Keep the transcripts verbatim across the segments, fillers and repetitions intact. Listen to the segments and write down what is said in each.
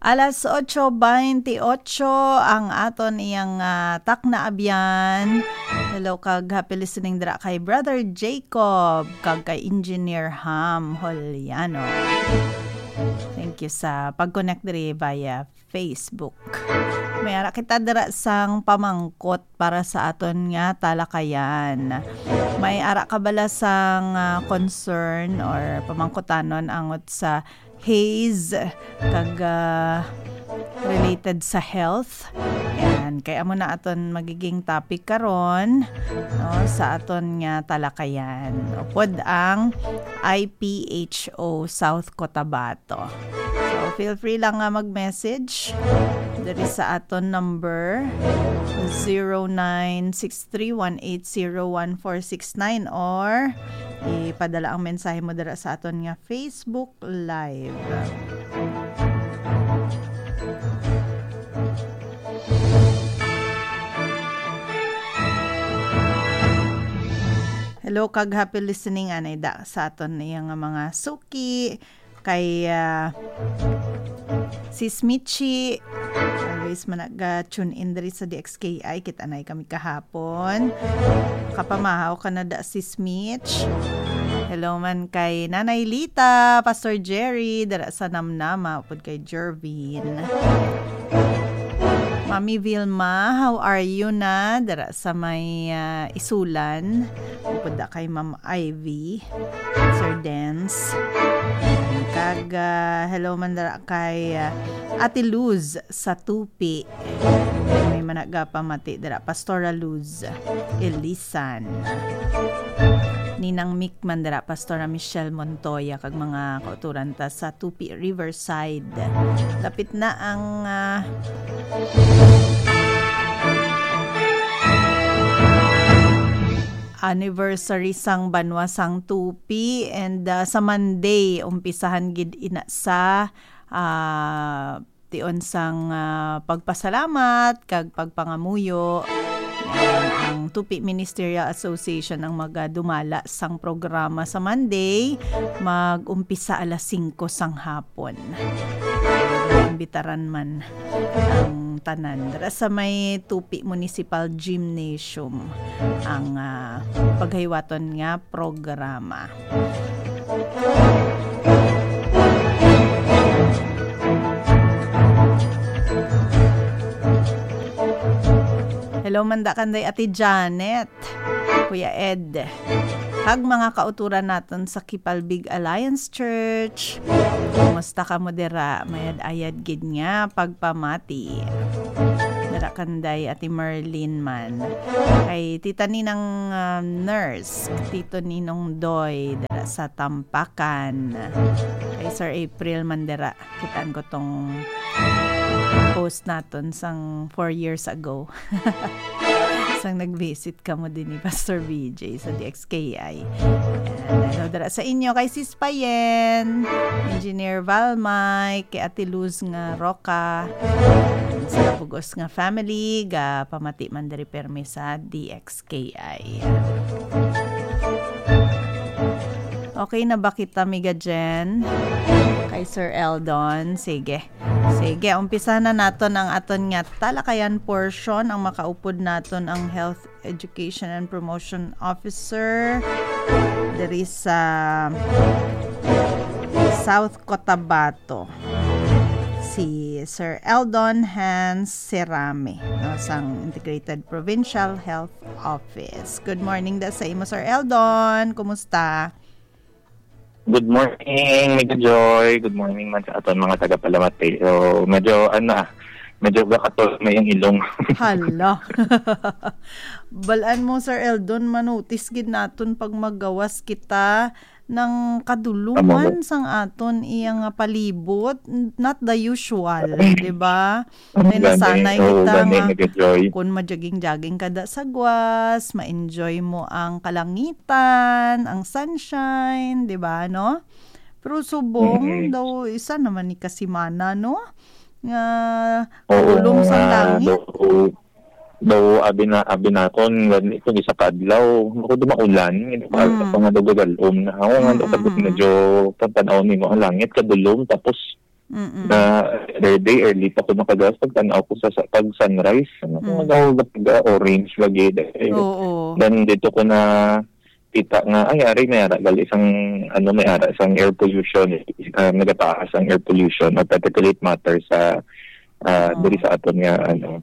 Alas ocho baynte otso ang aton iyang, ah, takna abyan. Hello kag happy listening dira kay Brother Jacob kag kay Engineer Ham Holiano. Thank you sa pag-connect diri via Facebook. May ara kita dira sang pamangkot para sa aton nga talakayan. May ara ka bala sang, ah, concern or pamangkutanon angot sa haze kag, ah, related sa health? Yan, kay amo na aton magiging topic karon, no, sa aton nga talakayan. Upod ang I P H O South Cotabato. So, feel free lang nga mag-message diri sa aton number, zero nine six three one eight zero one four six nine, or ipadala ang mensahe mo dira sa aton nga Facebook Live. Hello, kag happy listening, anay da sa aton iya nga mga suki. Kay, ah, Sis Michi, always man naga-tune in diri sa D X K I. Kita na kami kahapon. Kapamahaw ka na da, Sis Mitch. Hello man kay Nanay Lita, Pastor Jerry, dira sa Namnama, upod kay Jervin. Mami Vilma, how are you na? Dira sa may, ah, Isulan. Upod da kay Ma'am Ivy, Sir Dance. Kag, ah, hello man dira kay, ah, Ate Luz sa Tupi. May managapamati dira, Pastora Luz Elisan. Ninang Mick man dira, Pastora Michelle Montoya, kag mga kauturan ta sa Tupi Riverside. Lapit na ang, ah, anniversary sang Banwa sang Tupi, and, ah, sa Monday, umpisahan gid ina sa, ah, tion sang, ah, pagpasalamat kag pagpangamuyo. Yan, ang Tupi Ministerial Association ang magadumala sang programa sa Monday, mag-umpisa alas singko sang hapon. Imbitaran man ang tanan. Dira sa may Tupi Municipal Gymnasium ang, ah, paghiwaton nga programa. Hello, man da kanday Ate Janet, Kuya Ed, kag mga kauturan naton sa Kipalbig Alliance Church. Kumusta kamo dira? Mayad-ayad gid nga pagpamati. Dira kanday Ate Merlin man. Kay Tita Ninang, ah, Nurse, Tito Ninong Doy, dira sa Tampakan. Kay Sir April man dira. Kitaan ko tong post naton sang four years ago. Sang nag-visit kamo din ni Pastor B J sa D X K I. Yan. Hello dira sa inyo kay Sis Payen, Engineer Val Mike, kay Ate Luz nga Roca, sa bugos nga family, ga pamati man diri permi sa D X K I. Okay na ba kita, Miga Jen? Kay Sir Eldon. Sige. Sige, umpisa na naton ang aton nga talakayan portion. Ang makaupod naton ang Health Education and Promotion Officer diri sa South Cotabato, si Sir Eldon Hans Serame, no, sang Integrated Provincial Health Office. Good morning da sa imo, Sir Eldon. Kumusta? Good morning, Miga Joy. Good morning man sa aton mga tagapalamati. So, medyo, ano, ah, medyo gakatol may ang ilong. Hala. Balaan mo, Sir Eldon, manutis gid naton pag maggawas kita ng kadulungan Tama. sang aton iya nga palibot. Not the usual, di ba? Kay nasanay kita nga kun majaging-jaging ka da sa gwas, ma-enjoy mo ang kalangitan, ang sunshine, di ba, no? Pero subong Mm. daw, isa naman ni kasimana, no? Nga Oo, kadulom sa nga langit. daw, daw, abi na, abi naton, gani kung isa ka adlaw, ako, di maulan, hindi pa, Mm. ako nga daw gagalom na. Ako nga daw, Mm, tapos mm, mm. medyo pagtanaw nimo ang langit, kadulom, tapos Mm-mm. Na other day, early pa ko nakagawas, pagtan-aw ko sa, sa pag sunrise, ano, kung Mm. nagawag na pag, ah, orange lagi, eh. Oo. Then, dito ko na kita nga, ay, ari, may ara, gali sang, ano, may ara sang air pollution, ah, nagataas ang air pollution or particulate matter sa, ah, Oo. diri sa aton nga, ano.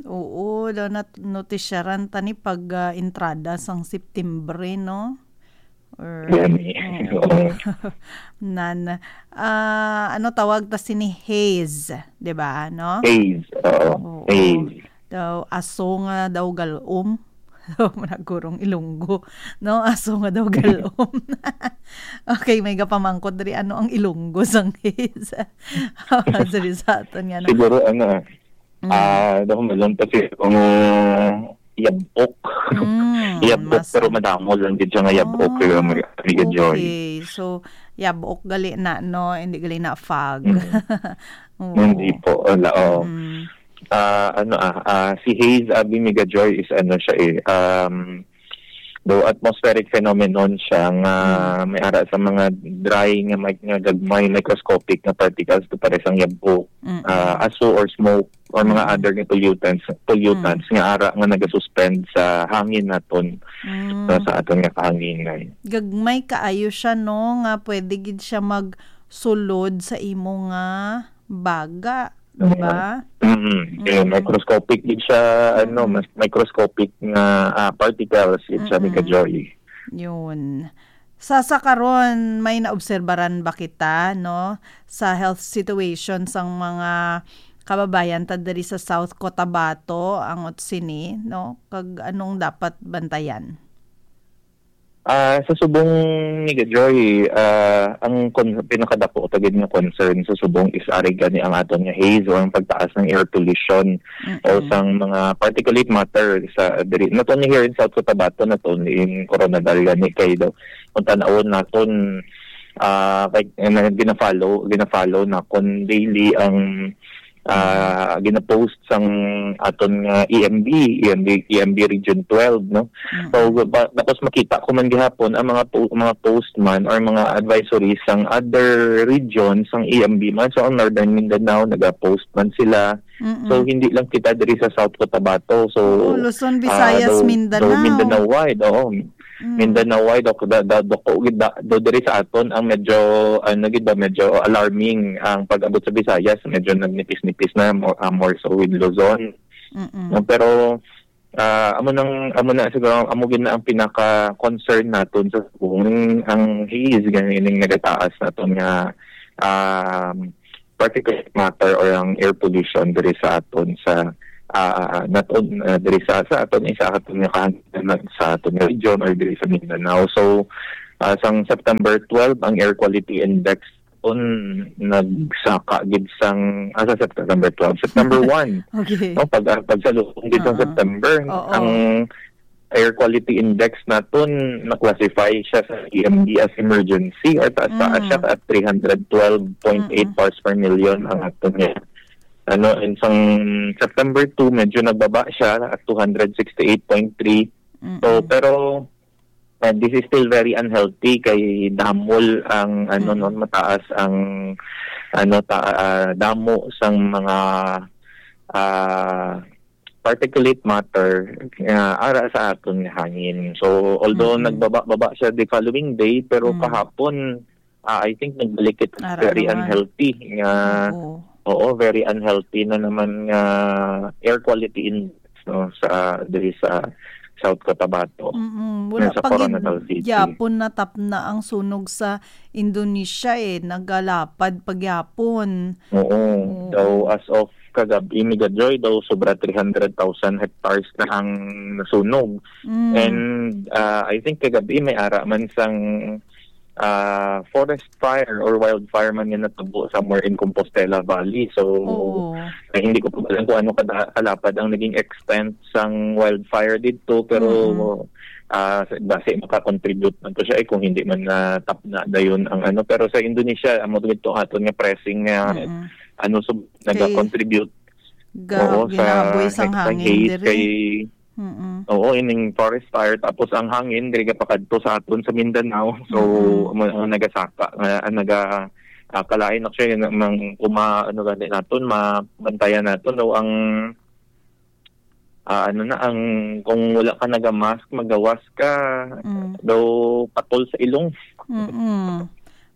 Oo, daw nat-, notisyaran ta ni pag, ah, entrada sang September, eh, no? Or, Gani. Oo. Oo. Nan, ah, ano tawag ta sini? Haze, di ba, no? Haze, oo. Oo. Haze. Daw, aso nga daw galom. Managurong Ilonggo, no? Aso nga daw galom. Okay, may gapamangkot diri, ano ang Ilonggo sang haze? Diri sa aton nga, no? Siguro, ano, ah, Mm. ah, daw malong pa siya kung yabok. Mm, Yabok, mas pero madamo lang gid siya nga yabok, Ah, kaya may, may joy. Okay. So, yabok gali na, no? Hindi gali na fog. Mm. Oo. Hindi po, wala, oh. Mm. Ah, ano, ah, ah, si haze, abi, Mega Joy, is ano siya, eh, um, daw atmospheric phenomenon siya nga Mm. may ara sa mga dry nga mic-, nga gagmay microscopic nga particles to pares ang yabok, Mm-mm. ah, aso or smoke or mga Mm-mm. other nga pollutants, pollutants Mm. nga ara nga nagasuspend sa hangin naton, Mm. sa, sa aton nga kahanginan. Gagmay kaayo siya, no, nga pwede gid siya magsulod sa imo nga baga, di ba? Mm. Kaya Mm. microscopic gid siya, ano, Mm. mas microscopic nga, ah, particles gid siya, Mm-mm. Mega Joy. Yun. Sa, sa karon, may naobserbaran ba kita, no, sa health situation sang mga kababayan ta diri sa South Cotabato, ang sini, no? Kag anong dapat bantayan? Ah, sa subong, Mega Joy, ah, ang con-, pinakadako ta gid nga concern sa subong is ari gani ang aton nga haze o ang pagtaas ng air pollution o Mm-mm. sang mga particulate matter sa diri. Not only here in South Cotabato, not only in Koronadal gani kay daw kung tan-awon naton, ah, kay, eh, na, gina-follow, gina-follow na kon daily ang, ah, Mm. gina-post sang aton nga E M B, E M B, E M B Region twelve, no? So, Mm-mm. ba, tapos makita ko man gihapon ang mga po-, mga post man or mga advisories sang other regions sang E M B man. So, ang Northern Mindanao, naga-post man sila. Mm-mm. So, hindi lang kita diri sa South Cotabato. So, Oo, Luzon, ah, Visayas, daw, daw Mindanao. Mindanao wide, oo. Mm. Mindanao wide, daw, da, da, dako gid, da, daw diri sa aton ang medyo, ano gid ba, medyo alarming ang pag-abot sa Visayas, medyo nagnipis-nipis na, mo-, ah, more so with Luzon. Mm-mm. No, pero, ah, amo nang, amo na siguro, amo gid na ang pinaka-concern naton sa kung ang haze, ganing nagataas naton nga, um, particulate matter or ang air pollution diri sa aton sa, ah, not on-, ah, diri sa, sa aton, sa aton nga kahanginan, sa aton nga region or diri sa Mindanao. So, ah, sang September twelve, ang air quality index on nagsaka gid sang, ah, sa September twelve, September one. Okay. No, pag, ah, pagsalubong gid sang Oo. September, Oo. ang air quality index naton na-classify siya sa E M D as emergency or taas-taas siya Mm. at three hundred twelve point eight Mm-mm. parts per million ang aton niya. Ano, and sang September two, medyo nagbaba siya at two hundred sixty-eight point three. So, Mm-mm. pero, uh, this is still very unhealthy kay damol ang, ano, Mm-mm. no, mataas ang, ano, ta-, ah, damo sang mga, ah, particulate matter nga ara sa aton nga hangin. So, although Mm-mm. nagbaba-baba siya the following day, pero Mm. kahapon, ah, I think nagbalik kita sa Ara very naman. unhealthy nga, Oo. oo, very unhealthy na naman nga air quality index, no, sa, diri sa South Cotabato, Mm-mm. Wala sa pa gid Coronadal City. Gyapon natapna ang sunog sa Indonesia, eh. Nagalapad pa gyapon. Oo. Oo. Daw, as of kagab-i, Mega Joy, daw sobra three hundred thousand hectares na ang nasunog. Mm. And, ah, I think kagab-i may ara man sang, ah, forest fire or wildfire man nga natabo somewhere in Compostela Valley. So, Oo. eh, hindi ko pa alam kung ano kada-, kalapad ang naging extent sang wildfire didto, pero, Mm-mm. ah, sa, basi makakontribute man to siya, eh, kung hindi man natapna dayon ang ano. Pero sa Indonesia, amo to aton nga pressing nga Mm-mm. ano, so, Kay nagakontribute, ga-, oo, sa, ginahaboy sang sa hangin haze diri. Kay, Mm-mm. oo, ining forest fire, tapos ang hangin diri gapakadto sa aton sa Mindanao. So, Mm-mm. amo ang nagasaka, nga, ang naga-, Ah, kalain actually na mang kuma-, ano gani naton, mabantayan naton daw ang, ah, ano na, ang kung wala ka naga-mask, magawas ka, Mm. daw patol sa ilong. Mm-mm.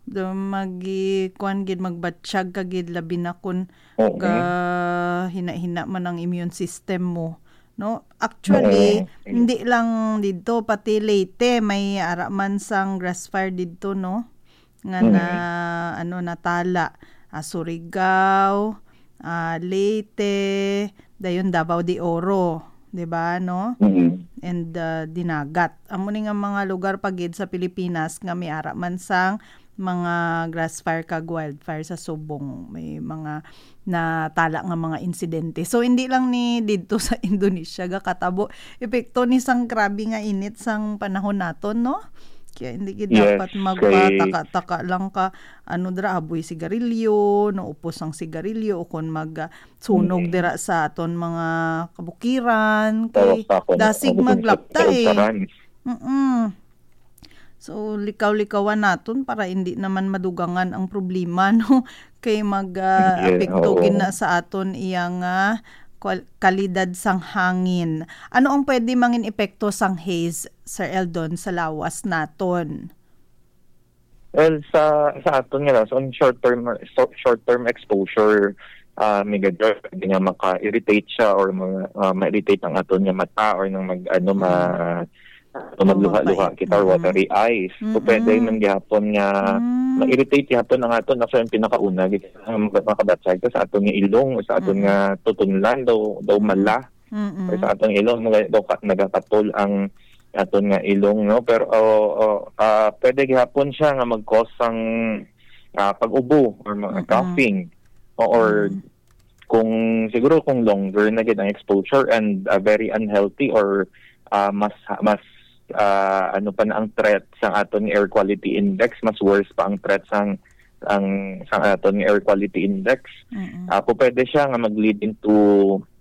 Do magi-, kuwan gid, magbatsyag ka gid, labi na kun Oo. gahina-hina man ang immune system mo, no? Actually, Oo. hindi lang didto, pati Leyte, may ara man sang grass fire didto, no? Nga na, Mm. ano, natala. Ah, Surigao, ah, Leyte, dayon Davao de Oro, di ba, no? Mm. And, ah, Dinagat. Amo ni nga mga lugar pa gid sa Pilipinas nga may ara man sang mga grass fire kag wildfire sa subong. May mga natala nga mga insidente. So, hindi lang ni didto sa Indonesia gakatabo epekto ni sang grabe nga init sang panahon naton, no? Kaya hindi gid Yes, dapat kay magpataka-taka lang ka, ano dira, aboy sigarilyo, no, upos ang sigarilyo, o kon mag, ah, sunog Mm. dira sa aton mga kabukiran, kay Tawag sa akon, dasig ang maglapta, eh. kaugtaran. Mm-mm. So, likaw-likawan naton para hindi naman madugangan ang problema, no? Kay mag, ah, Yes, epekto oo. gid na sa aton iya nga kwal-, kalidad sang hangin. Ano ang pwede mangin epekto sang haze, Sir Eldon, sa lawas naton? Well, sa, sa aton nga lang, so, on short term, so, short term exposure, ah, Mega Joy, pwede nga maka-irritate siya or mga, ah, ma-irritate ang aton nga mata or nang mag, ano, ma-, Mm. ano, O magluha-luha magpait. kita or Mm-mm. watery eyes. So, pwede Mm-mm. man gihapon nga Mm. ma-irritate gihapon ang aton. Actually, ang pinakauna, gid, ang makabatsay ka sa aton nga ilong o sa aton Mm-mm. nga tutunlan, daw, daw Mm-mm. mala. Mm-mm. Or sa aton ilong, mga, daw ka, nagakatol ang aton nga ilong, no? Pero, oh, oh, ah, pwede gihapon siya nga mag-cause sang, ah, pag-ubo or mga Mm-mm. coughing. O, or Mm. kung, siguro kung longer na gid ang exposure and, ah, very unhealthy or, ah, mas, mas, ah, ano pa na ang threat sa aton air quality index, mas worse pa ang threat sang, ang, sa aton air quality index. Mm-mm. Ah, po pwede siya nga mag-lead into,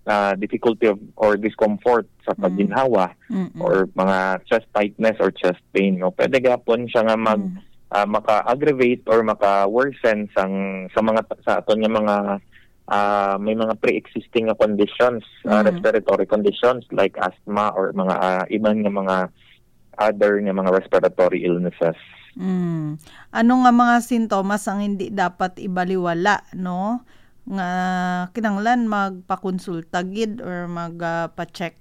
ah, difficulty of, or discomfort sa Mm. pagginhawa Mm-mm. or mga chest tightness or chest pain, no? Pwede gapon siya nga mag, Mm. ah, maka-aggravate or maka-worsen sang, sa mga, sa aton nga mga, ah, may mga pre-existing nga conditions, ah, Mm. respiratory conditions like asthma or mga, ah, iban nga mga other nga mga respiratory illnesses. Mm. Ano nga mga sintomas ang hindi dapat ibaliwala, no? Nga kinahanglan magpakonsulta gid or mag, ah, pa-check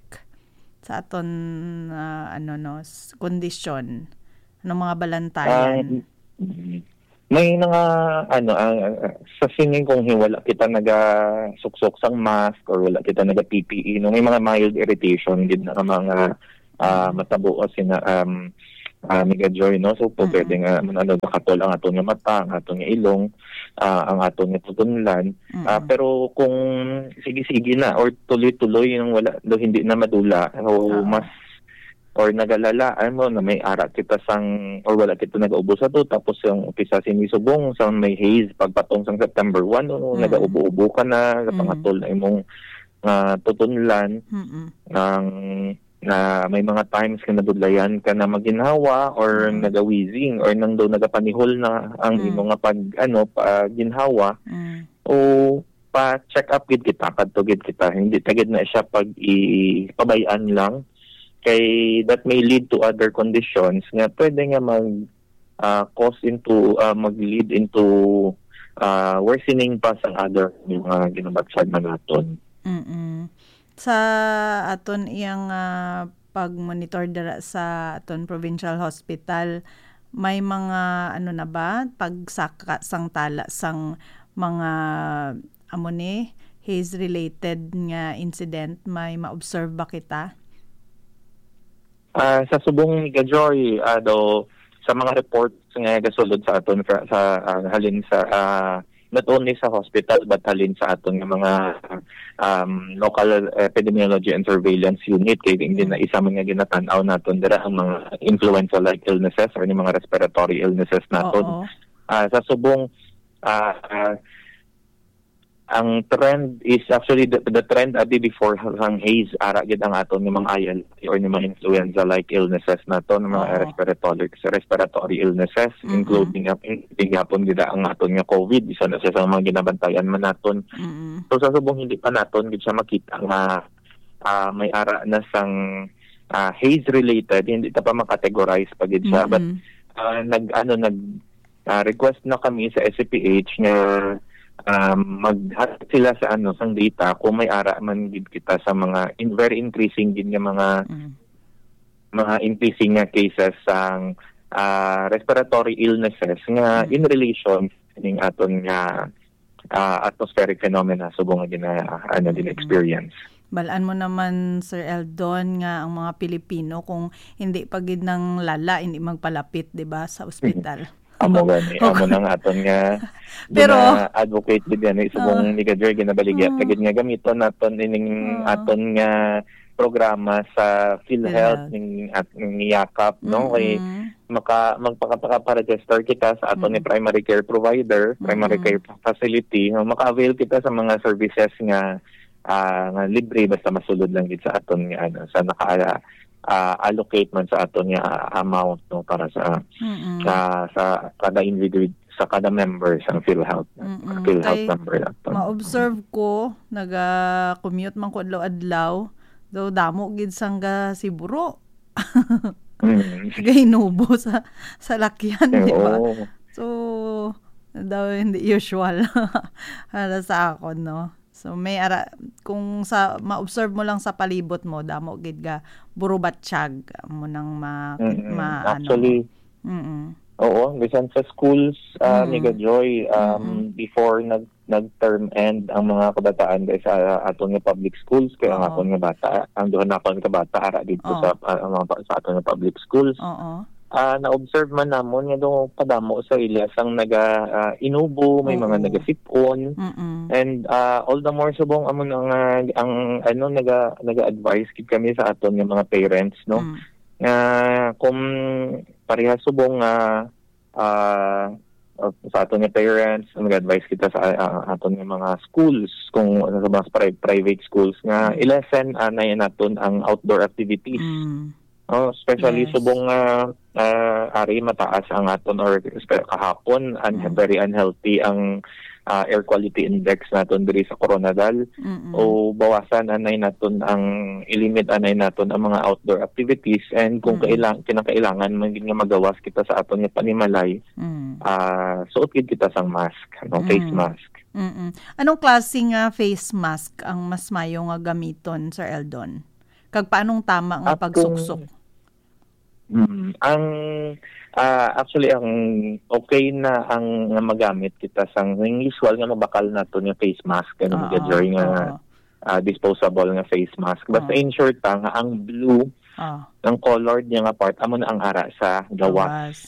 sa aton, ah, ano, no, s-, kondisyon? Ano mga balantayan? Ah, mm. May mga, ano, ah, ah, sa sining kung hi-, wala kita nagasuksok sang mask or wala kita naga-P P E, no, may mga mild irritation gid na nga mga, ah, Mm. matabo o sina, um, ah, Mega Joy, no? So, po, Mm-mm. pwede nga, ano, nakatol ang aton nga mata, ang aton nga ilong, ah, ang aton nga tutunlan. Ah, Mm-mm. pero kung sige-sige na or tuloy-tuloy yung wala, do hindi na madula, so, Oo. mas or nagalala, ano, na may ara kita sang, or wala kita nagaubo sa to, tapos yung umpisa sini subong, sa may haze, pagpatong sang September one, no, Mm. nagaubo-ubo ka na, Mm. napangatol na imong, ah, tutunlan, Mm-mm. ang, na may mga times nga nabudlayan ka na maginhawa, or Mm. naga-wheezing, or nang daw nagapanihol na ang Mm. imo nga pag, ano, pagginhawa, Mm. o pa-check up gid kita, kadto gid kita. Hindi ta gid na siya pag-, i-, pabay-an lang. Kay that may lead to other conditions nga pwede nga mag, ah, cause into, ah, mag-lead into, ah, worsening pa sa other mga ginabatyag man naton. Mm-mm. Sa aton iyang, ah, pag-monitor dira sa aton provincial hospital, may mga, ano na ba, pagsaka sang tala sang mga, amo ni, haze-related nga incident, may ma-observe ba kita? Ah, sa subong ni Gajoy, ah, daw, sa mga reports nga gasulod sa aton fra-, sa, ah, halin sa, ah, not only sa hospital, but halin sa aton nga mga, um, local epidemiology and surveillance unit, kay hindi Mm. na isa man nga ginatan-aw naton dira ang mga influenza-like illnesses or ni mga respiratory illnesses naton. Oo. Ah, sa subong, ah, ah, ang trend is actually the, the trend abi before sang haze, ara gid ang aton nga mga I L T or ni mga influenza-like illnesses naton, mga Oo. respiratory, respiratory illnesses, Mm-mm. including, including gihapon gid ang aton nga COVID, isa na siya sa mga ginabantayan man naton. Mm-mm. So, sa subong hindi pa naton gid siya makita nga, ah, may ara na sang, ah, haze related, hindi ta pa makategorize pa gid siya. But, Mm-mm. ah, nag, ano, nag, ah, request na kami sa S C P H nga, um, maghatag sila sa, ano, sang data kung may ara man gid kita sa mga in, very increasing gid nga mga, Mm. mga increasing nga cases sang, ah, respiratory illnesses nga Mm. in relation ning aton nga, ah, atmospheric phenomena subong nga gina-, ano, Mm. gina-experience. Balaan mo naman, Sir Eldon, nga ang mga Pilipino, kung hindi pa gid nang lala, hindi magpalapit, di ba, sa ospital. Amo gani, amo Okay. nang aton nga Pero gina-advocate gid gani subong Oh. ni Gajoy, ginabaligya Oh. ta gid nga gamiton naton ining Oh. aton nga programa sa PhilHealth, PhilHealth. ning, at ning yakap, no? Kay Mm-mm. maka-, magpaka-, maka-register kita sa aton ni Mm. primary care provider, primary Mm-mm. care facility, no? Maka-avail kita sa mga services nga, ah, nga libre basta masulod lang gid sa aton nga, ano, sa naka, ah, allocate man sa aton nga amount, no, para sa, Mm-mm. sa, sa kada individual, sa kada member sa PhilHealth, Mm-mm. PhilHealth Kay member naton. ma-observe ko, naga-commute man ko adlaw-adlaw, daw damo gid sang ga-Siburo. Mm. Gahinubo sa, sa lakyan, di ba? Oo. So, daw hindi usual para sa akon, no? So, may ara-, kung sa, ma-observe mo lang sa palibot mo, damo gid ga burubatyag, amo nang ma-, Mm-mm. ma-, ano. Actually, Mm-mm. oo, bisan sa schools, ah, Mm. Mega Joy, um, Mm-mm. before nag-, nag-term end ang mga kabataan dahil sa aton nga public schools, kaya ang Oo. aton nga bata, ang duha na akon ka bata, ara dito Oo. sa, ah, ang mga pa-, sa aton nga public schools. Oo. Ah, na-observe man namon nga daw padamo sa ila sang naga, ah, inubo, may mga Oo. nagasipon. Mm-mm. And, ah, all the more subong amo na nga ang, ano, naga, naga-advise gid kami sa aton nga mga parents, no? Mm. Nga kung parehas subong nga, ah, sa aton nga parents, nag-advise kita sa, ah, aton nga mga schools, kung ano, sa mga pri-, private schools, nga Mm. i-lessen anay naton ang outdoor activities. Mm. Oh, especially Yes. subong nga, ah, ari mataas ang aton or espe-, kahapon, un-, Mm. very unhealthy ang, ah, air quality index naton diri sa Koronadal. Mm-mm. O bawasan anay naton ang, i-limit anay naton ang mga outdoor activities, and kung Mm. kailang-, kinakailangan man gid nga magawas kita sa aton nga panimalay, Mm. ah, suot gid kita sang mask, ano, face Mm. mask. Mm-mm. Anong klase nga face mask ang mas mayo nga gamiton, Sir Eldon? Kag paanong tama nga Akong pagsuksok? Mm, ang, ah, actually, ang okay na ang nga magamit kita sang, ang usual nga mabakal nato nga face mask, ano, Oo, Mega Joy, nga, oo. ah, disposable nga face mask. Basta Oo. ensure ta nga ang blue, Oo. ang colored niya nga part, amo na ang ara sa gawas. Gawas.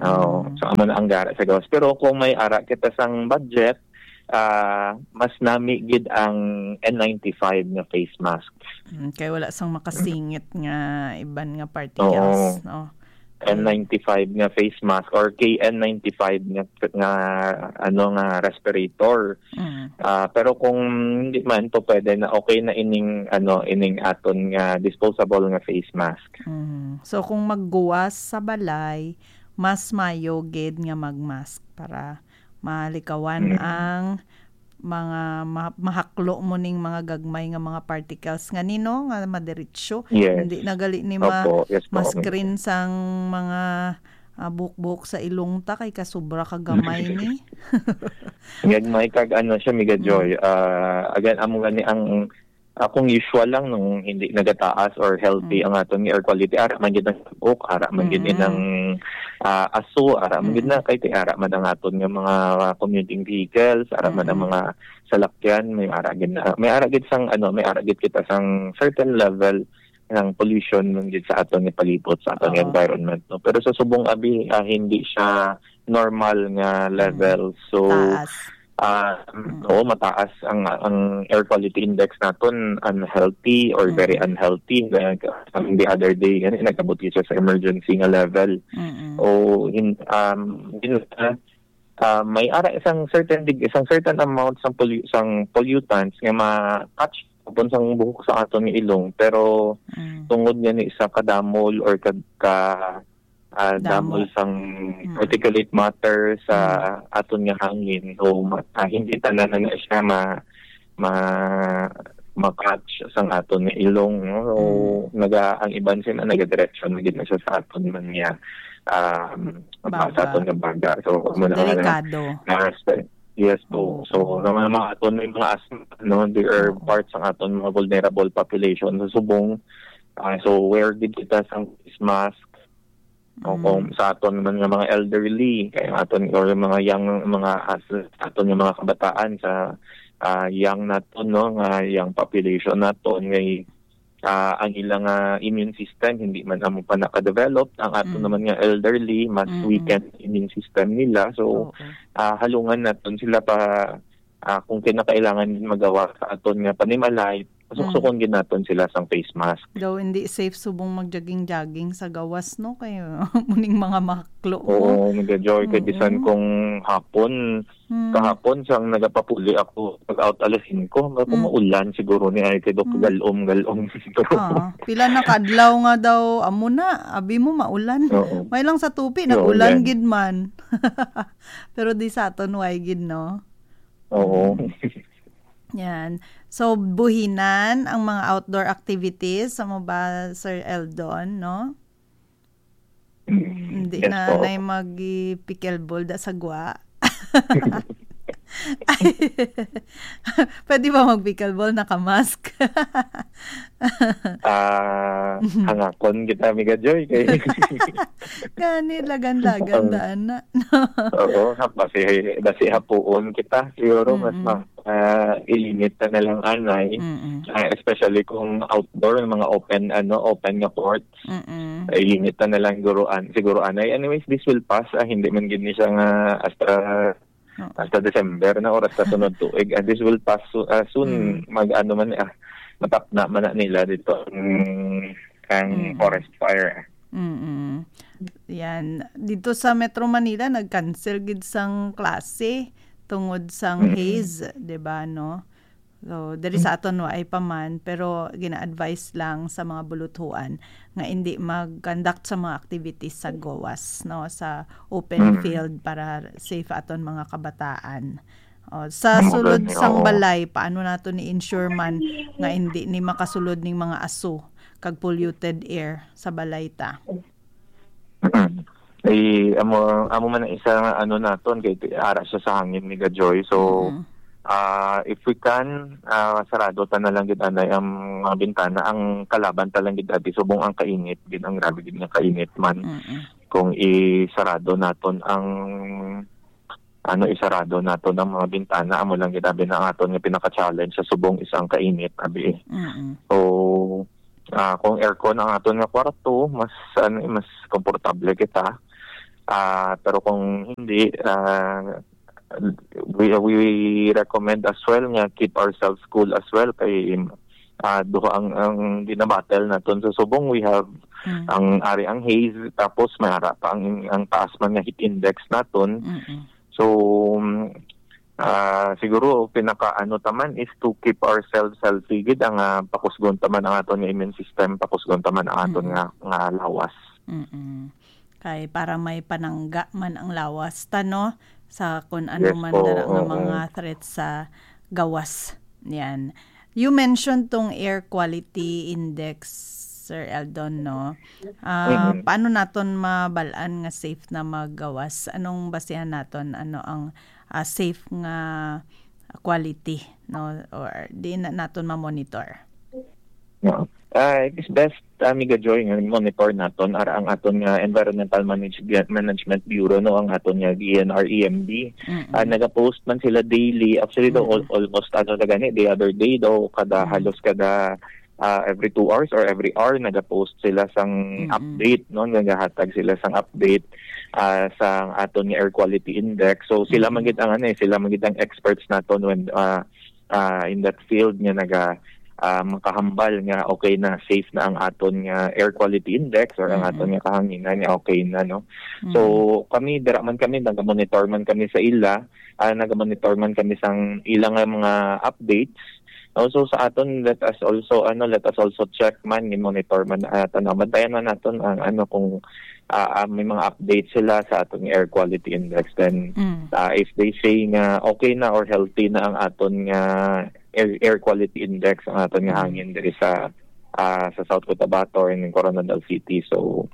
Oo. Mm. So, amo na ang gara sa gawas. Pero kung may ara kita sang budget, ah, mas nami gid ang N ninety-five nga face mask. Mm, kay wala sang makasingit nga iban nga particles, Oo. no? Kay N ninety-five nga face mask or K N ninety-five nga, nga, ano, nga respirator. Mm. Ah, pero kung hindi man to pwede na, okay na ining, ano, ining aton nga disposable nga face mask. Mm. So, kung magguwas sa balay, mas mayo gid nga mag-mask para malikawan Mm. ang mga ma-, mahaklo mo ning mga gagmay nga mga particles nga nino nga madiretso. Yes. Hindi na gali ni ma-, Opo, yes po, ma-screen minsan. Sang mga, ah, buhok-buhok sa ilong ta kay kasubra ka gamay ni. Gagmay kag ano siya, Mega Mm. Joy. Ah, again, amo gani ang akong usual lang nung hindi nagataas or healthy Mm. ang aton nga air quality. Ara man gid ang tabok, ara man gid Mm. ang, ah, aso, ara man gid Mm. na kay, kay ara man ang aton nga mga commuting vehicles, ara man ang Mm. mga salakyan, may ara gid na, may ara gid sang, ano, may ara gid kita sang certain level ng pollution man gid sa aton nga palibot, sa aton nga Oo. environment, no? Pero sa subong abi, ah, hindi siya normal nga Mm. level. So, Taas. ah, Mm. oo, mataas ang, ang air quality index naton, unhealthy or very Mm. unhealthy. Like, um, the other day, gani, nagabot siya sa emergency nga level. Mm. O, hin-, um, hin-, ah, ah, may ara isang certain deg-, isang certain amount sang pollu-, sang pollutants nga ma-catch upon sang buhok sa aton nga ilong, pero Mm. tungod nga ni sa kadamol or ka, ka, ah, Damo. damol sang Mm. particulate matter sa Mm. aton nga hangin, so ma-, ah, hindi tanan na siya ma-, ma-, ma-catch sang aton nga ilong, no? So, Mm. naga-, ang iban sila nagadiretso na gid na siya sa aton man nga, um, Baga. sa aton nga baga. So, So, amo na nga na, delikado. na, yes po. Oo. So, sa mga, mga aton may mga asthma, no, they are Oo. parts ang aton mga vulnerable population sa subong. Ah, so, wear gid kita sang face mask. O Mm. kung sa aton man nga mga elderly, kay ang aton, or yung mga young, mga as-, aton nga mga kabataan sa, ah, young naton, no, nga young population naton, ngay, ah, ang ilang, ah, immune system hindi man amo pa naka-develop. Ang aton Mm. naman nga elderly, mas Mm-mm. weakened immune system nila. So, Oo. ah, halungan naton sila pa, ah, kung kinakailangan magawa sa aton nga panimalay, Mm. suksukon gid naton sila sang face mask. Daw hindi safe subong mag-jogging-jogging sa gawas, no? Kay muning mga maklo mo. Oo, Miga Joy, kay bisan Mm-mm. kung hapon, Mm. kahapon sang nagapapuli ako, pag-out alas singko, ako Mm. maulan siguro ni ay kay Doc Mm. Galom, galom. Oo. Pila na kadlaw nga daw, amo na, abi mo maulan. Oo. May lang sa tupi, Oo, nag-ulan yan. gid man. Pero di sa aton, way gid, no? Oo. Mm. Yan. So, buhinan ang mga outdoor activities, sa mo ba, Sir Eldon, no? Hindi Yes na, po. nay mag-pickleball da sa gwa. Pwede ba mag-pickleball naka-mask? Ah, Mhm. hangakon kita, Miga Joy, kay Gani, lagan-lagan Ang daan na. Oo, ha-, basi, basi hapuon kita. Siguro mas Mm-mm. ma-, ah, ilimit na na lang anay. Mm-mm. Ah, especially kung outdoor, mga open, ano, open nga courts. Mm-mm. Ilimit na na lang siguro, an-, siguro anay. Anyways, this will pass. Ah, hindi man gid ni siya nga hasta, Oo. hasta December na or hasta sunod tuig. And this will pass so-, ah, soon. Mm. Mag-ano man, ah, matapna man na nila dito ang, ang Mm. forest fire. Mm-mm. Yan. Dito sa Metro Manila, nag-cancel gid sang klase tungod sang Mm-mm. haze, di ba, no? So, diri sa aton, wa ay pa man, pero gina-advise lang sa mga buluthuan nga hindi mag-conduct sa mga activities sa gawas, no, sa open Mm. field para safe aton mga kabataan. O, sa Ang sulod maganda, sang oo. balay, paano nato ni-ensure man nga hindi ni makasulod ning mga aso kag polluted air sa balay ta? Mm. Eh, amo, amo man ang isa nga ano naton, kay ara siya sa hangin, Miga Joy. So, Mm. ah, if we can, ah, sarado ta na lang gid anay ang mga bintana. Ang kalaban ta lang gid ati, subong ang kainit gid, ang grabe gid nga kainit man. Mm-mm. Kung isarado naton ang, ano, isarado naton ang mga bintana, amo lang gid abi na ang aton nga pinaka-challenge sa subong is ang kainit, abi. Mm-mm. So, ah, kung aircon ang aton nga kwarto, mas, ano, mas komportable kita. Ah, pero kung hindi, ah, we, we recommend as well nga keep ourselves cool as well kay, ah, duha ang, ang ginabattle naton sa subong. We have Mm. ang ari ang haze, tapos may ara pa ang, ang taas man nga heat index naton. Mm-mm. So, mm, ah, siguro pinaka ano ta man is to keep ourselves healthy gid, ang, ah, pakusgon ta man ang aton nga immune system, pakusgon ta man ang aton Mm. nga, nga lawas. Mm-mm. Kay para may panangga man ang lawas ta, no, sa kun ano Yes man po, dara nga oo. mga threats sa gawas. Yan. You mentioned tong air quality index, Sir Eldon, no? Ah, Mm-mm. paano naton mabal-an nga safe na maggawas? Anong basihan naton? Ano ang, ah, safe nga quality, no? Or di na naton ma-monitor? Yeah. Ah, it is best, Amiga Joy, nga monitor naton ara ang aton nga Environmental Manage-, Management Bureau, no, ang aton nga D N R E M B. Mm-mm. Ah, nagapost man sila daily. Actually, daw, Mm-mm. al-, almost, ano na gani, the other day daw, kada, Mm. halos kada, ah, every two hours or every hour, nagapost sila sang Mm-mm. update, no? Nagahatag sila sang update, ah, sa aton nga air quality index. So, sila Mm-mm. man gid ang, ano, eh, sila man gid ang experts naton when, ah, ah, in that field nga naga-, ah, makahambal nga okay na, safe na ang aton nga air quality index or ang Mm-mm. aton nga kahanginan nga okay na, no? So, Mm. kami, dira man kami, nag-monitor man kami sa ila, ah, nag-monitor man kami sang ila nga mga updates. Also sa aton, let us also, ano, let us also check man, ni monitor man, ah, tanaw, bantayan man naton ang, ano, kung, ah, ah, may mga updates sila sa aton air quality index. Then, Mm. ah, if they say nga okay na or healthy na ang aton nga air, air quality index, ang aton nga Mm. hangin diri sa, ah, sa South Cotabato or in Coronadal City. So,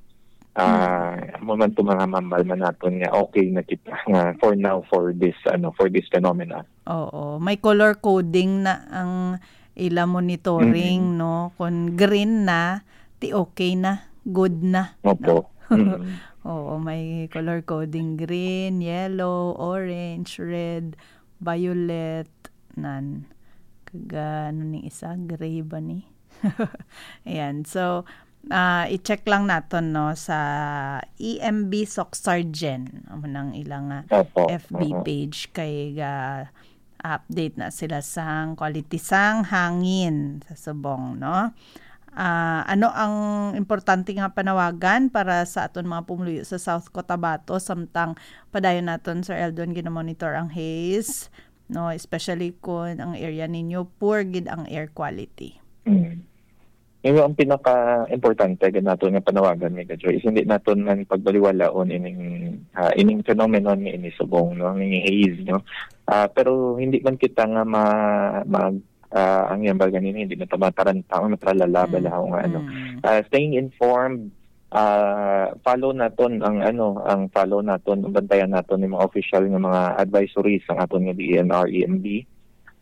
ah, amo man to, mga hambal man naton nga okay na kita nga for now for this, ano, for this phenomena. Oo, may color coding na ang ila monitoring, Mm. no? Kung green na, ti okay na, good na, no? Opo. Mm. Oo, may color coding: green, yellow, orange, red, violet, nan. Kag, ah, ano ning isa? Gray ba ni? Ayan. So, ah, i-check lang naton, no, sa E M B Soc Sargen. Amo nang ilang, ah, Opo. F B Oo. page kay ga-update na sila sang quality sang hangin sa subong, no? Ah, ano ang importante nga panawagan para sa aton mga pumuluyo sa South Cotabato samtang padayon naton, Sir Eldon, gina-monitor ang haze, no? Especially kung ang area ninyo poor gid ang air quality. Mm. Yung, ang pinaka-importante gid nato nga panawagan, Mega Joy, is hindi naton man pagbaliwalaon ining, ah, ining phenomenon nga ini subong, no, ining haze, no. Ah, pero hindi man kita nga ma-, mag-, ah, ang yambal ganini, hindi na ta mataranta o matralala, Mm. bala, o nga, ano. Mm. Ah, staying informed, ah, follow naton ang, ano, ang follow naton, bantayan naton yung mga official nga mga advisories ang aton nga D E N R E M B,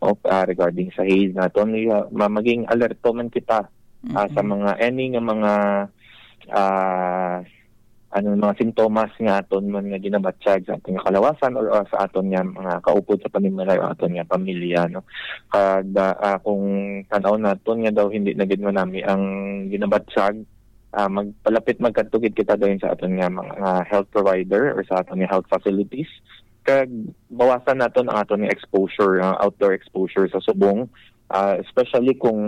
o, ah, regarding sa haze naton. Iya, ma-, maging alerto man kita, ah, sa Mm-mm. mga, any nga mga, ah, ano, mga sintomas nga aton man nga ginabatyag sa aton nga kalawasan or, or sa aton nga mga kaupod sa panimalay o aton nga pamilya, no? Kag, ah, ah, kung tan-aw naton nga daw hindi na gid manami ang ginabatyag, ah, magpalapit, magkadto gid kita dayon sa aton nga mga, ah, health provider or sa aton nga health facilities. Kag bawasan naton ang aton nga exposure, ah, outdoor exposure sa subong, ah, especially kung,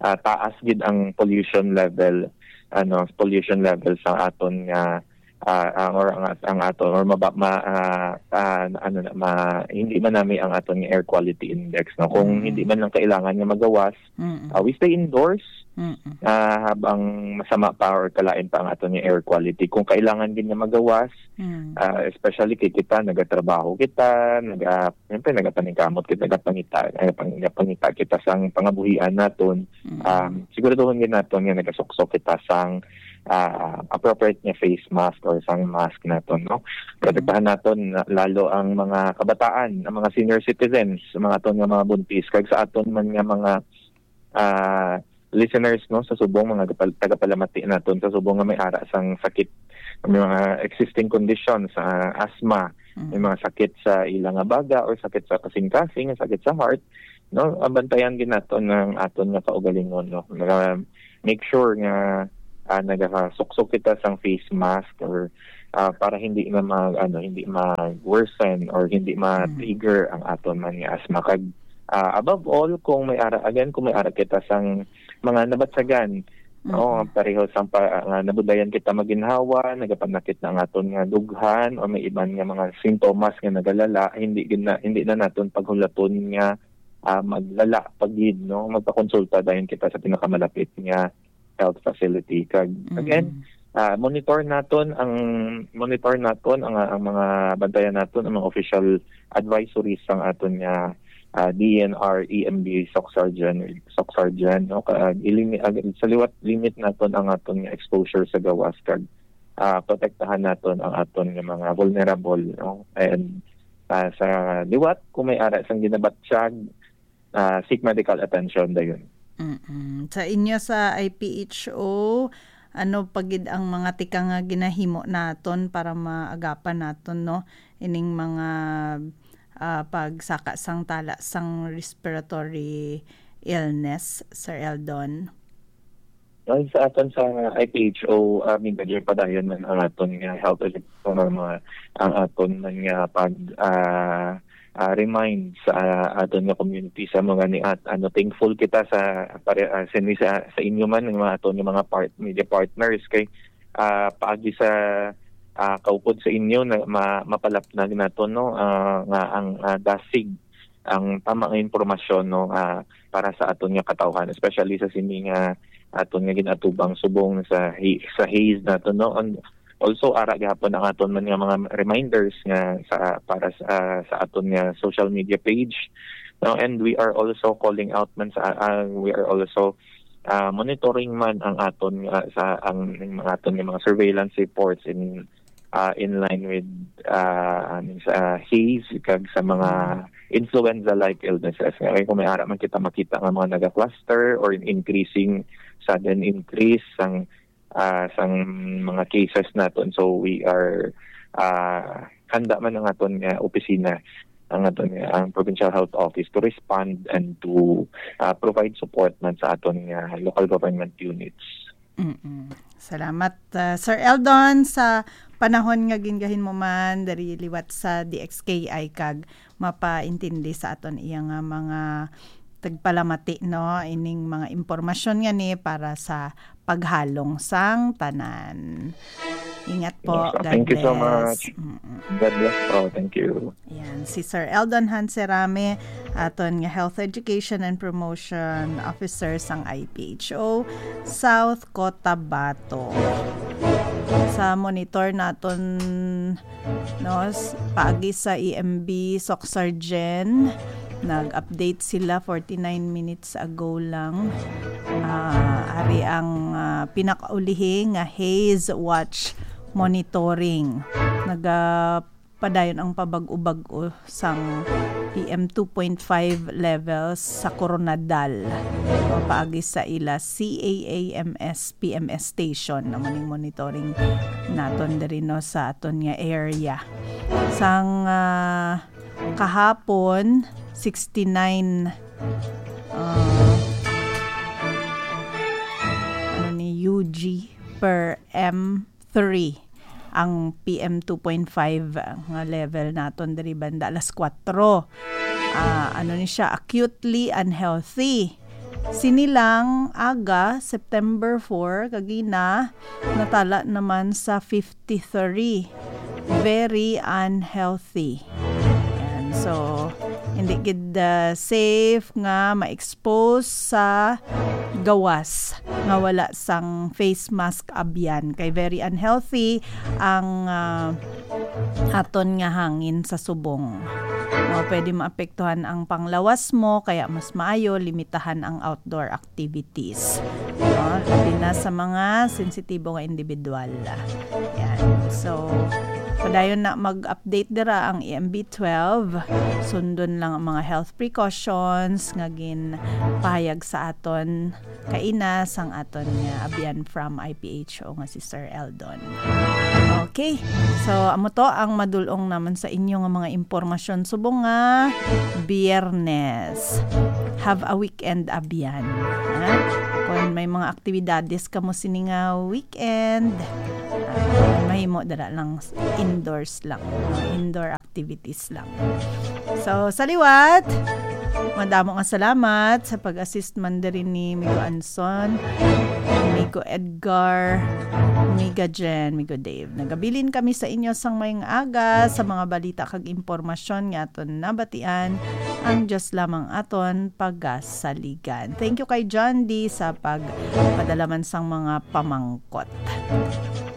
ah, taas gid ang pollution level, ano, pollution level sa aton nga, ah, ang, or ang, ang aton, or maba-, ma-, ah, ah, ano na, ma-, hindi manami ang aton nga air quality index, no? Kung Mm. hindi man lang kailangan nga magawas, Mm-mm. ah, we stay indoors, Mm-mm. ah, habang masama pa or kalain pa ang aton nga air quality. Kung kailangan gid nga magawas, Mm. ah, especially kay kita, nagatrabaho kita, naga-, siyempre, nagapaningkamot kita, nagapangita, nagapang-, nagapangita kita sang pangabuhian naton. Mm. Um, siguraduhon gid naton nga nagasuksok kita sang, ah, appropriate nga face mask or sang mask naton, no? Protektahan naton na, lalo ang mga kabataan, ang mga senior citizens, ang mga aton nga mga buntis, kag sa aton man nga mga, ah, listeners, no, sa subong, mga gapal-, tagapalamati naton sa subong nga may ara sang sakit, may mga existing conditions, ah, asthma, may Mm. mga sakit sa ila nga baga or sakit sa kasing-kasing, sakit sa heart, no, abantayan gid naton ang aton nga kaugalingon, no. Naga-, make sure nga, ah, nagasuksok kita sang face mask or, ah, para hindi na mag-, ano, hindi mag-worsen or hindi Mm. ma-trigger ang aton man nga asthma. Kag, ah, above all, kung may ara, again, kung may ara kita sang mga nabatyagan, no, Mm-mm. pareho sang pa, nga nabudlayan kita maginhawa, nagapanakit na ang aton nga dughan, o may iban nga mga sintomas nga nagalala, hindi gid na, hindi na naton paghulaton nga, ah, maglala pa gid, no? Magpakonsulta dayon kita sa pinakamalapit nga health facility. Kag, again, Mm. ah, monitor naton ang, monitor naton ang, ang mga, bantayan naton ang mga official advisories sang aton nga, ah, D E N R E M B Soc Sargen, Soc Sargen, no? Kag ilimi-, ag-, sa liwat, limit naton ang aton nga exposure sa gawas, kag, ah, protektahan naton ang aton nga mga vulnerable, no? And, ah, sa liwat, kung may ara sang ginabatyag, ah, seek medical attention dayon. Mm-mm. Sa inyo sa I P H O, ano pa gid ang mga tikang nga ginahimo naton para maagapan naton, no, ining mga, ah, pagsaka sang tala sang respiratory illness, Sir Eldon? Well, sa aton sa I P H O, ah, Mega Joy, padayon man ang aton nga health education or mga, ang aton man nga pag, ah, ah, remind sa, ah, aton nga community sa mga ni at ano, thankful kita sa pare, ah, sini sa, sa inyo man, nga mga aton nga mga part-, media partners kay, ah, paagi sa, ah, kaupod sa inyo na ma-, mapalapnag naton, no, ah, nga ang, ah, dasig ang tama nga impormasyon, no, ah, para sa aton nga katawhan, especially sa sini nga aton nga ginatubang subong sa hi-, sa haze naton, no. And also, ara gihapon ang aton man nga mga reminders nga sa, para sa, sa aton nga social media page, no. And we are also calling out man sa, ah, we are also, ah, monitoring man ang aton nga, sa, ang, ang mga aton nga mga surveillance reports in, ah, in line with, ah, ano, sa haze kag sa mga Mm. influenza-like illnesses. Nga kung may ara man kita makita nga mga naga-cluster or increasing, sudden increase sang, ah, sang mga cases naton. So we are, ah, handa man ang aton nga opisina, ang aton nga, ang Provincial Health Office to respond and to, ah, provide support man sa aton nga local government units. Mm-mm. Salamat, ah, Sir Eldon, sa panahon nga gingahin mo man diri liwat sa D X K I kag mapaintindi sa aton iya nga mga tagpalamati, no, ining mga impormasyon nga ni para sa paghalong sang tanan. Ingat po. Yes, God thank you so bless. Much. Mm-mm. God bless po. Thank you. Yan, si Sir Eldon Hanserame, aton nga Health Education and Promotion Officer sang I P H O South Cotabato. Sa monitor naton, no, s-, paagi sa E M B Soxargen, nag-update sila forty-nine minutes ago lang. Ah, ari ang, ah, pinakaulihi nga haze watch monitoring. Naga padayon ang pabag-o-bag-o sang P M two point five levels sa Koronadal, paagi sa ila C A A M S P M S station na mo ning monitoring naton diri, no, sa aton nga area. Sang, ah, kahapon, sixty-nine, ah, ano ni, U G per M three ang P M two point five nga level naton diri banda alas kuwatro. Ah, ano ni siya, acutely unhealthy. Sini lang aga, September four, kagina, natala naman sa fifty-three. Very unhealthy. Yan. So, hindi gid, ah, safe nga ma-expose sa gawas nga wala sang face mask abyan. Kay very unhealthy ang, ah, aton nga hangin sa subong. No, pwede maapektuhan ang panglawas mo, kaya mas maayo limitahan ang outdoor activities. No, labi na sa mga sensitibo nga individual. Yan. So, padayon na mag-update dira ang E M B twelve. Sundon lang ang mga health precautions nga ginpahayag sa aton kaina sang aton nga abyan from I P H O nga si Sir Eldon. Okay. So, amo to ang madulong naman sa inyo nga mga impormasyon subong nga Biyernes. Have a weekend, abyan. Ha? Kung may mga aktibidades kamo sini nga weekend, ah, mahimo dira lang s-, indoors lang. Mga indoor activities lang. So, sa liwat, madamo nga salamat sa pag-assist man diri ni Migo Anson, Migo Edgar, Miga Jen, Migo Dave. Nagabilin kami sa inyo sang mayong aga sa mga balita kag impormasyon nga aton nabatian. Ang Dios lamang aton pagasaligan. Thank you kay John D sa pagpadala man sang mga pamangkot.